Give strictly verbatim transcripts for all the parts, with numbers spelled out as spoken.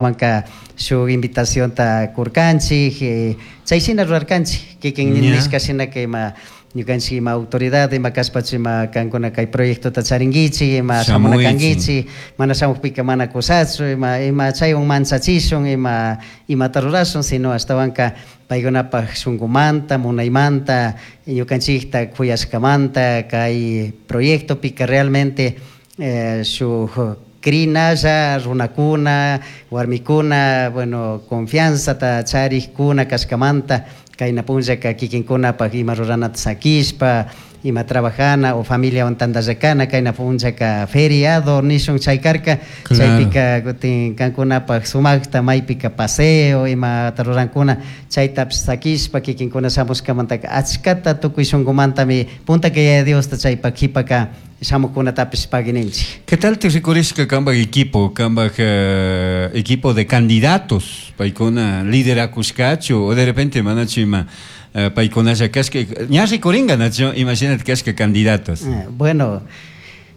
Manka shuk invitacionta kurkanchik, eh, chayshina rurarkanchik, kikin Ya. nishka shinaka ima ñukanchik ima autoridad ima kashpachu ima kankuna kay proyectota charinkichik, ima shamuna Shamuychik. kankichik, mana shamukpika mana kushachu, ima ima chaywan manchachishun, ima imata rurashun, sino ashtawanka paykunapak shunkumanta, munaymanta, ñukanchikta kuyashkamanta kay proyectopika realmente eh, shuk crinalla runakuna, warmikuna, bueno, confianzata charikuna kashkamanta kayna punllaka kikinkunapak ima ruranata sakishpa, ima trabajana o familiawan tantallakana kayna punllaka feriado nishun chay karka. Claro. Chaypika kutin kankunapak sumakta maypika paseo imata rurankuna chaytapish sakishpa kikinkuna shamushkamantaka achkata tukuy shunkumantami puntaka Yaya Diosta chaypak kipaka shamukunatapish pagininchik. ¿Qué tal te rikurishka kambak equipo, kambak eh, equipo de candidatos? Paykuna liderakushkachu o de repente manachu ima eh, paykunalla kashka ña rikuringa nachu imagínate kashka candidatos. Eh, bueno,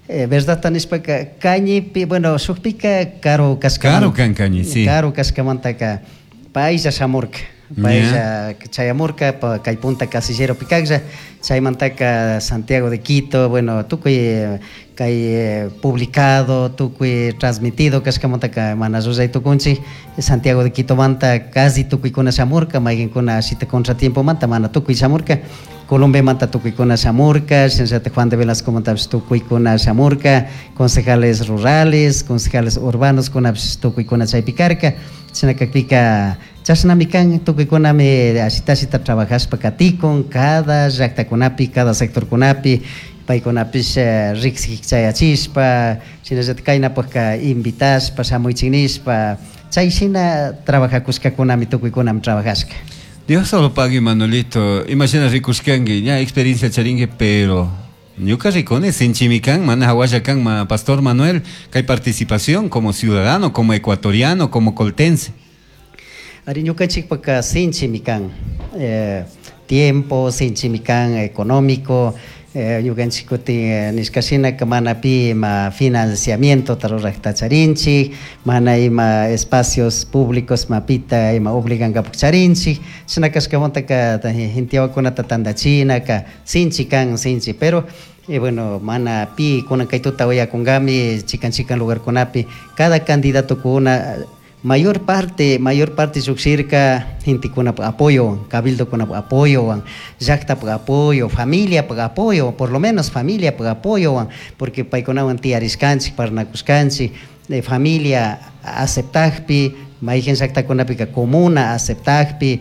eh, verdadta nishpaka kañipi, bueno, shukpika karu kashkamanta. Karu kan kañi, sí. Karu kashkamantaka paylla shamurka. Paylla chayamurka pa kay punta casillero pikaklla, chaymantaka Santiago de Quito, bueno, tukuy eh, kay eh, publicado, tukuy transmitido kashkamantaka mana rurray tukunchik. Santiago de Quito manta casi tukuykuna shamurka, mayqinkuna ashita contratiempomanta mana tukuy shamurka. Colombiamanta tukuykuna shamurka, shinallata Juan de Velasco mantapish tukuykuna shamurka, concejales rurales, concejales urbanos kunapish tukuykuna chaypi karka. Shina kakpika chashnami kan tukuykunami ashita ashita trabajashpa katikun cada llaktakunapi, cada sectorkunapi, paykunapish eh, riksik chayachishpa, shinallata kaynapakka invitashpa shamuychik nishpa, chay shina trabajakushkakunami tukuykunami trabajashka. Dios solo pague, Manuelito. Imagina rikushkanki, ya experiencia charinki, pero ñuka rikuni sinchimi kan, mana hawalla kan, ma Pastor Manuel, kay participación como ciudadano, como ecuatoriano, como coltense. Ari ñukanchikpaka sinchimi kan, eh, tiempo, sinchimi kan económico, eh, ñukanchik kutin eh, nishkashinaka mana pi ima financiamiento rurakta charinchik, mana ima espacios públicos mapita ima obligankapak charinchik, shina kashkamantaka gente wawakunata tantachinaka sinchi kan, sinchi, pero eh, bueno, mana pi kunan kay tuta uyakunkami chikan chikan lugarkunapi cada candidato kuna mayor parte, mayor parte llukshirka gentekunapa apoyo, cabildokunapa apoyo, llaktapak apoyo, familiapak apoyo, por lo menos familiapak apoyo, porque paykunawan tiyarishkanchik, parlanakushkanchik, de familia aceptakpi, mayqin llaktakunapika comuna aceptakpi,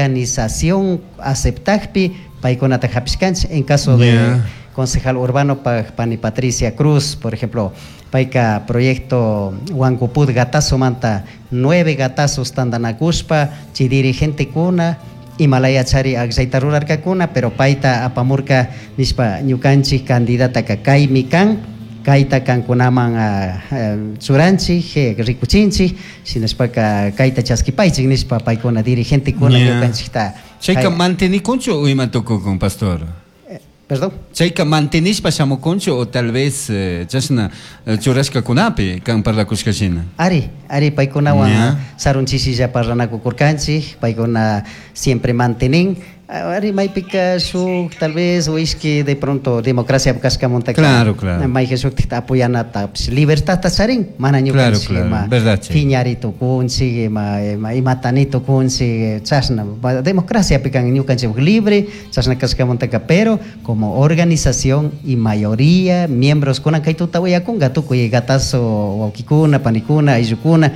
organización aceptakpi, paykunata hapishkanchik. En caso de Yeah. concejal urbano pa, pani Patricia Cruz, por ejemplo, payka proyecto Huancupud gatazo manta nueve gatazos tantanakushpa, chay dirigente kuna imalaya chari akllayta rurarkakuna, pero payta apamurka nishpa ñukanchik candidataka kaymi kan, kayta kankunaman uh, uh, churanchik, eh, rikuchinchik, shinashpaka kayta chaskipaychik nishpa paykuna dirigente kuna Yeah. ñukanchikta Chayka kay- mantenikunchu o ima tukukun, pastor? Eh, perdón. Chayka mantenishpa shamukunchu o tal vez eh, chashna eh, churashkakunapi kan parlakushkashina. Ari, ari paykunawan Ya. sarun chisilla parlanakukurkanchik, paykuna siempre mantenin. Ari maypika shuk tal vez o ishki de pronto democracia kashkamantaka Claro, claro. mayqa shuktikta apoyanata libertadta charin, mana Claro, ñukanchik claro, ima verdad, chay. phiñari tukunchik, ima ima imatani tukunchik, chashna democraciapi kan ñukanchik libre, chashna kashkamantaka, pero como organización y mayoría miembros kunan kay tuta uyakunka tukuy gatazo wawkikuna, panikuna, ayllukuna,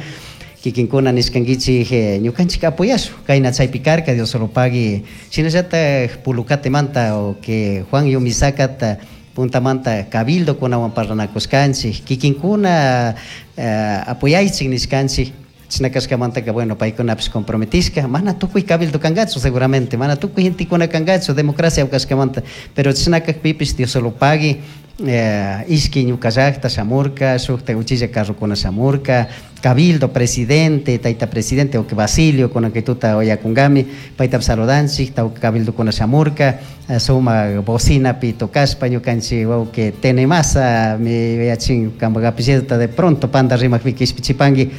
kikinkuna nishkankichik eh, ñukanchik apoyashun kayna chaypi karka, Dios solo pague, shinallatak Pulucatemanta o que Juan Yumisakata puntamanta cabildo kunawan parlanakushkanchik, kikinkuna eh, apoyaychik nishkanchik, chashna kashkamantaka bueno paykunapish comprometishka, mana tukuy cabildo kankachu seguramente, mana tukuy gentekuna kankachu democracia kashkamanta, pero chashna kakpipish Dios solo pague, eh, ishki ñuka llakta shamurka, shukta uchilla carrokuna shamurka, cabildo presidente, tayta presidente o que Basilio kunan kay tuta uyakunkami, paytapish saludanchik, tawka cabildokuna shamurka, eh, suma bocinapi tocashpa ñukanchik wawki Tenemasa mi yachin kampak apellidota de pronto panda rimakpi kishpichipanki,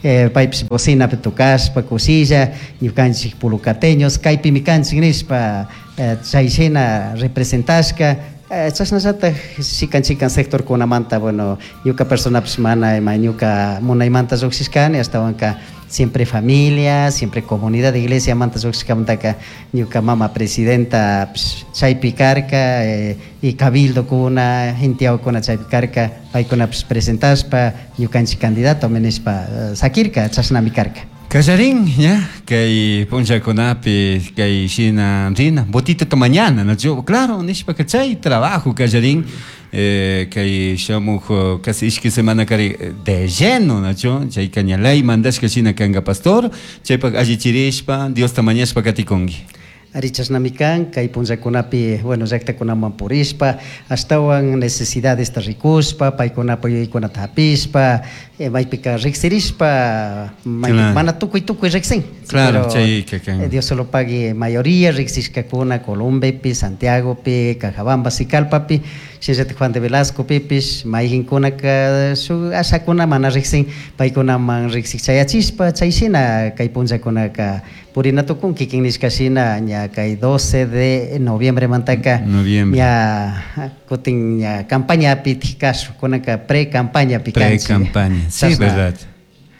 eh, paypish bocinapi tukashpa kushilla ñukanchik pulucateños kaypimi kanchik nishpa eh, chay shina representashka eh, chashnallatak chikan chikan sectorkunamanta bueno ñuka personapish mana ima ñuka munaymanta llukshishkani ashtawanka siempre familia, siempre comunidad de iglesia manta llukshishkamantaka ñuka mama presidenta chaypi karka eh, y cabildokuna, intiawakuna chaypi karka paykunapish presentashpa ñukanchik candidato nishpa eh, sakirka chashnami karka. Kallarin, ya, kay punchakunapi, kay shina rina, botita mañana, no yo, claro, nishpa chay trabajo kallarin, eh, kay shamuj casi ishki semana kari de lleno, no yo, chay kañalay mandashka shina kanga pastor, chaypak allichirishpa, Dios ta mañashpa katikunki. Ari chashnami kan, kay punllakunapi, bueno, llaktakunaman purishpa, ashtawan necesidadesta rikushpa, paykunapa yuyaykunata hapishpa, eh, maypika riksirishpa, maypi Claro. mana tukuy tukuy riksin. Claro, Pero, chayka kan. eh, Dios solo pague mayoría riksishkakuna Columbepi, Santiagopi, Cajabamba, Sicalpapi, shinallatak Juan de Velasco pipish, mayqinkunaka shuk ashakuna mana riksin, paykunaman riksik chayachishpa, chay shina kay punllakunaka purina tukun kikin nishka shina ña kay doce de noviembre mantaka Noviembre. ña kutin ña campañapi tijkashu kunaka pre-campañapi kanchik. Pre-campaña, sí, Chashna. verdad.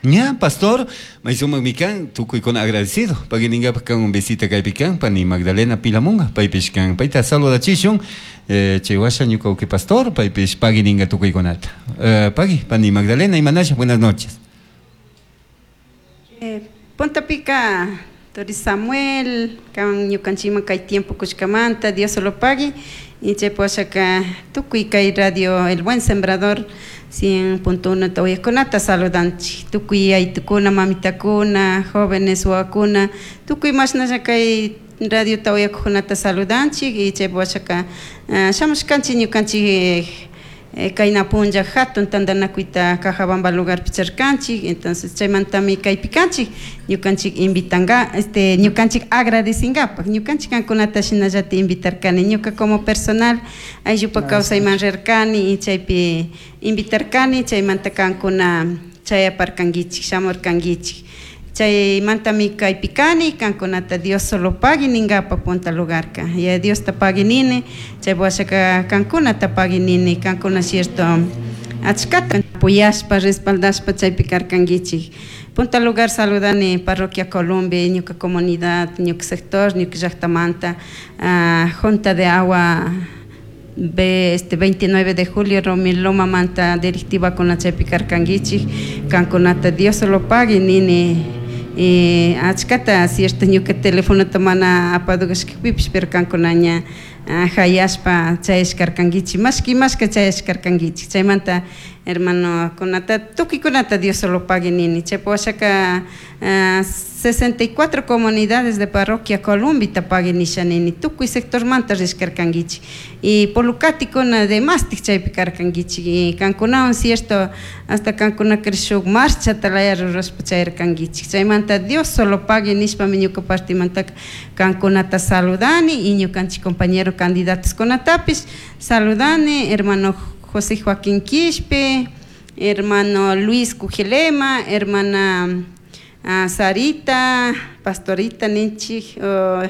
Ña, pastor, maysuma mikan, tukuy con agradecido. Pagininga kan un visita kaypi kan, pani Magdalena Pilamunga, paypish kan. Payta saludachishun, eh, chay washa ñuka uki pastor, paypish pagininga tukuy konata. Eh, pagi, pani Magdalena y Manasha, buenas noches. Eh, Punta Pica, Tori Samuel, kan ñukanchikman kay tiempo kushkamanta, Dios solo pague. Y chay washaka tukuy kay radio El Buen Sembrador cien punto uno tawaykunata saludanchik. Tukuy aytukuna, mamitakuna, jóvenes wawakuna, tukuy mashnalla kay radio tawayakuqkunata saludanchik. Y chay washaka uh, shamushkanchik ñukanchik eh, kayna punlla hatun tantanakuyta Cajabamba lugarpi charkanchik. Entonces chaymantami kaypi kanchik ñukanchik invitanga, este, ñukanchik agradecingapaq ñukanchik kankunata shinallata invitarkani ñuka como personal ayllupa kawsayman rirkani y chaypi invitarkani chaymanta kankuna chayaparkankichik shamurkankichik chaymantami kaypi kani kankunata Dios solo pagui ningapa punta lugarka ya Diosta pagui nini chay washaka kankunata pagui nini kankuna cierto achkata apoyashpa respaldashpa chaypi karkankichik. Punta lugar saludani parroquia Colombia, ñuka comunidad, ñuka sector, ñuka llaktamanta, uh, Junta de Agua B, este veintinueve de julio Romiloma manta directiva con la chaypi karkankichik kankunata Dios solo pague nini eh, achkata cierto ñuka teléfono mana apadugashkapipish pero kankuna ña hayashpa chayashkarkankichik mashki mashka chayashkarkankichik chaymanta hermano kunata tukuykunata Dios solo pague nini chaypa washaka uh, sesenta y cuatro comunidades de parroquia Columbita pague nisha nini tukuy sector manta rishkarkankichik y polucatikuna de mastik chaypi karkankichik y kankunawan cierto hasta kankuna shuk marcha talaya rurashpa chayarkankichik chaymanta Dios solo pague nishpami ñuka partimantaka kankunata saludani y ñukanchik compañero candidatos kunatapish saludani hermano José Joaquín Quispe, hermano Luis Cujelema, hermana uh, Sarita, pastorita ninchik, oh,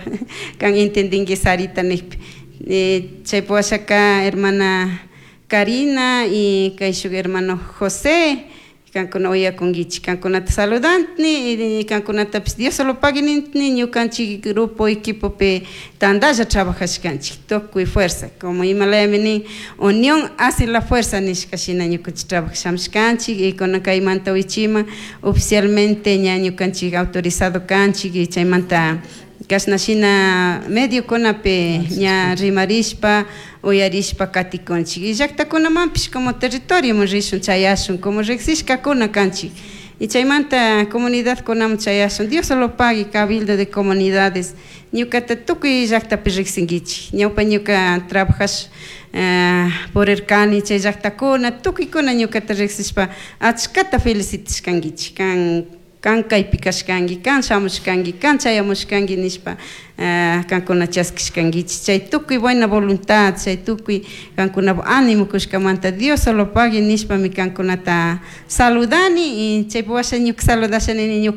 kan entendinki Sarita nijpi. Eh, chaypi washaka hermana Karina y kayshuk hermano José, kankuna uyakunkichik, kankunata saludantni, y kankunatapish Dios solo pague nintni, ñukanchik grupo equipopi tandalla trabajashkanchik, tukuy fuerza, como imalayami nin, unión hace la fuerza nishka shina ñukanchik trabajashamshkanchik, y kunan kaymanta wichima oficialmente ña ñukanchik autorizado kanchik, y chaymanta kashna shina mediokunapi ña rimarishpa uyarishpa katikunchik y llaktakunamanpish como territorioman rishun chayashun como riksishkakuna kanchik y chaymanta comunidadkunaman chayashun Dios solo pague cabildo de comunidades ñukata tukuy llaktapi riksinkichik ñawpa ñuka trabajash uh, purirkani chay llaktakuna tukuykuna ñukata riksishpa achkata felicitashkankichik kan Kan kaypi kashkanki, kan shamushkanki, kan chayamushkanki nishpa uh, kankuna chaskishkankichik. Chay tukuy buena voluntad, chay tukuy kankuna ánimo kushkamanta Dios solo pague nishpami kankunata saludani y chaypi washa ñuka saludasha nini.